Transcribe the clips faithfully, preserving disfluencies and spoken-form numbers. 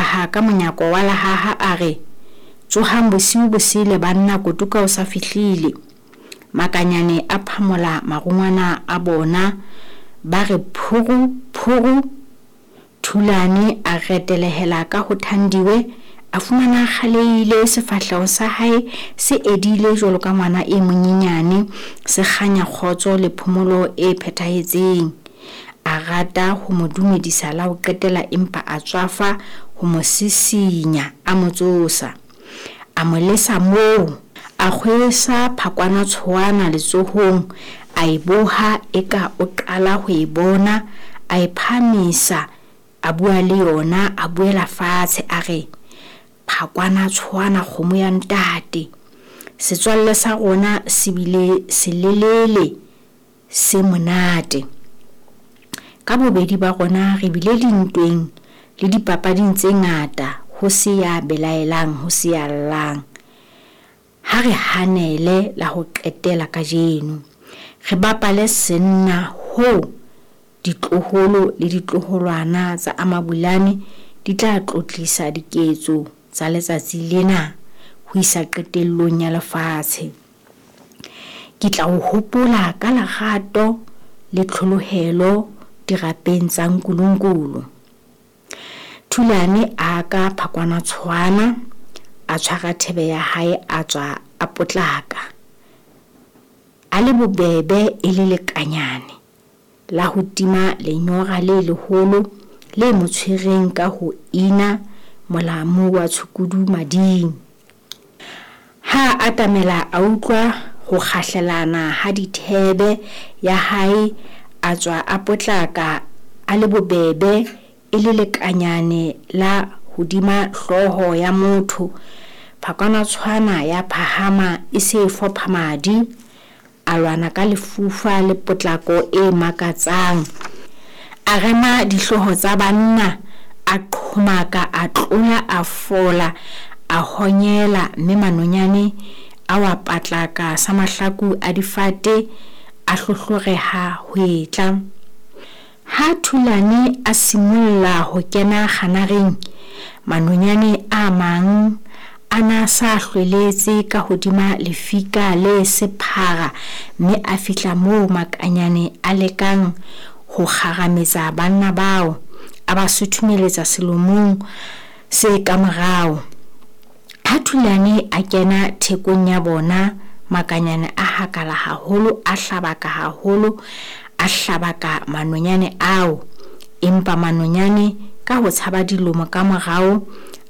hlaha ka monyako wa lehaha a re, "Tsohang bosiu bo sele banna, Kotuka o sa fihlile." Makanyane a phamola marungwana a bona, ba re phuru phuru. Thulane a retelehela ka ho Thandiwe, a fumana a kgalehile, sefahleho sa hae se edile jwalo ka ngwana e monyenyane, se kganya kgotso le phomolo e phethahetseng. A rata ho mo dumedisa la ho qetela, empa a tswafa ho mo sisinya, a mo tsosa. A mo lesa moo, a kgwesa phakwana tshoana letsohong, a e boha eka o qala ho e bona, a e phahamisa, a bua le yona, a buela fatshe, a re, "Phakwana tshoana kgomo ya ntate, setswalle sa rona se bile selelele se monate. Ka bobedi ba rona re bile dintweng le dipapading tse ngata, ho se ya belaelang, ho se ya llang. Ha re hanele la ho qetela kajeno, re bapale senna hoo ditloholo le ditloholwana tsa Amabulane di tla tlotlisa diketso tsa letsatsi lena ho isa qetellong ya lefatshe. Ke tla o hopola ka lerato le tlholohelo dirapeng tsa Nkulunkulu." Thulane a ka phakwana tshoana, a tshwara thebe ya hae, a tswa a potlaka. A le bobebe e le lekanyane la ho tima lenyora le leholo le mo tshwereng ka ho ina molamu wa tshukudu mading. Ha a atamela a utlwa ho kgahlelana ha dithebe ya hae, a tswa a potlaka a le bobebe e le lekanyane la hodima hlooho ya motho. Phakwana tshwana ya phahama e se e fopha madi. A lwana ka lefufa le potlako e makatsang. A rema dihlooho tsa banna, a qhomaka, a tlola, a fola, a honyela, mme manonyane a wa patlaka sa mahlaku a difate, a hlohloreha hwetla. Ha Thulane a simolla ho kena kganareng, manonyane a mang a na sa hlweletse ka hodima lefika le sephara, mme a fihla moo makanyane a lekang ho kgarametsa banna bao, a ba suthumeletsa selomong se ka morao. Ha Thulane a kena thekong ya bona, makanyane a hakala haholo, a hlabaka haholo, a hlabaka manonyane ao. Empa manonyane ka ho tshaba dilomo ka morao,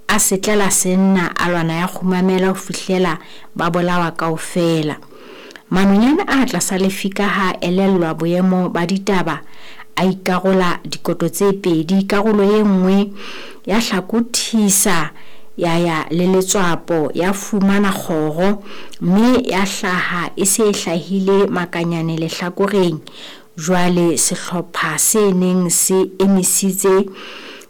a setlela senna, a lwana ya kgumamela ho fihlela ba bolawa kaofela. Manonyane a tlasa lefika ha a elellwa boemo ba ditaba, a ikarola dikoto tse pedi. Karolo e nngwe ya hlakothisa ya ya le letswapo, ya fumana kgoro, mme ya hlaha e se e hlahile makanyane lehlakoreng. Jwale sehlopha se neng se emisitse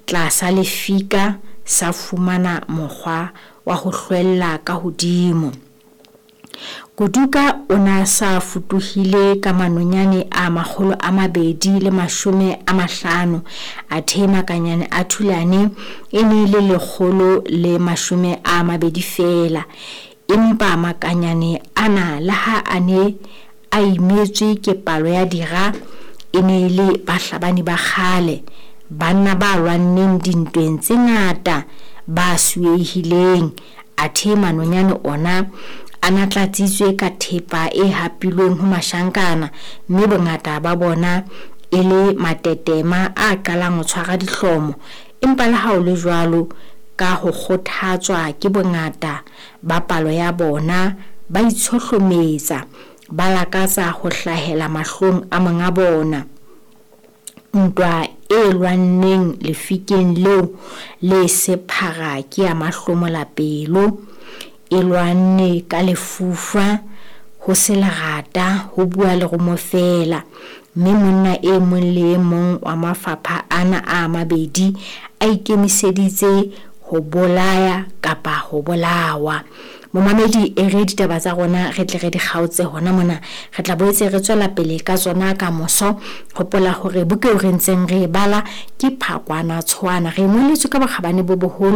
tlasa lefika sa fumana mokgwa wa ho hlwella ka hodimo. Kotuka o na sa futuhile ka manonyane a makgolo a mabedi le mashome a mahlano, athe makanyane a Thulane e ne e le lekgolo le mashome a mabedi feela. Empa makanyane ana le ha a ne a imetswe ke palo ya dira, e ne e le bahlabani ba kgale, banna ba lwanneng dintweng tse ngata, ba suehileng. Athe manonyane ona a na tlatsitswe ka thepa e hapilweng ho mashankana, mme bongata ba bona e le matetema a qalang ho tshwara dihlomo. Empa le ha ho le jwalo, ka ho kgothatswa ke bongata ba palo ya bona, ba itshohlometsa, ba lakatsa ho hlahela mahlong a monga bona. Ntwa e lwanneng lefikeng leo le sephara ke ya mahlomola pelo, e lwanne ka lefufa, ho se lerata, ho bua lerumo feela. Mme monna e mong le e mong wa mafapha ana a mabedi a ikemiseditse ho bolaya kapa ho bolawa. Momamedi, e re ditaba tsa rona re tle re di kgaotse hona mona, re tla boetse re tswela pele ka tsona ka moso. Hopola hore buka eo re ntseng re e bala ke Phakwana Tshoana, re ngoletswe ka bokgabane bo boholo.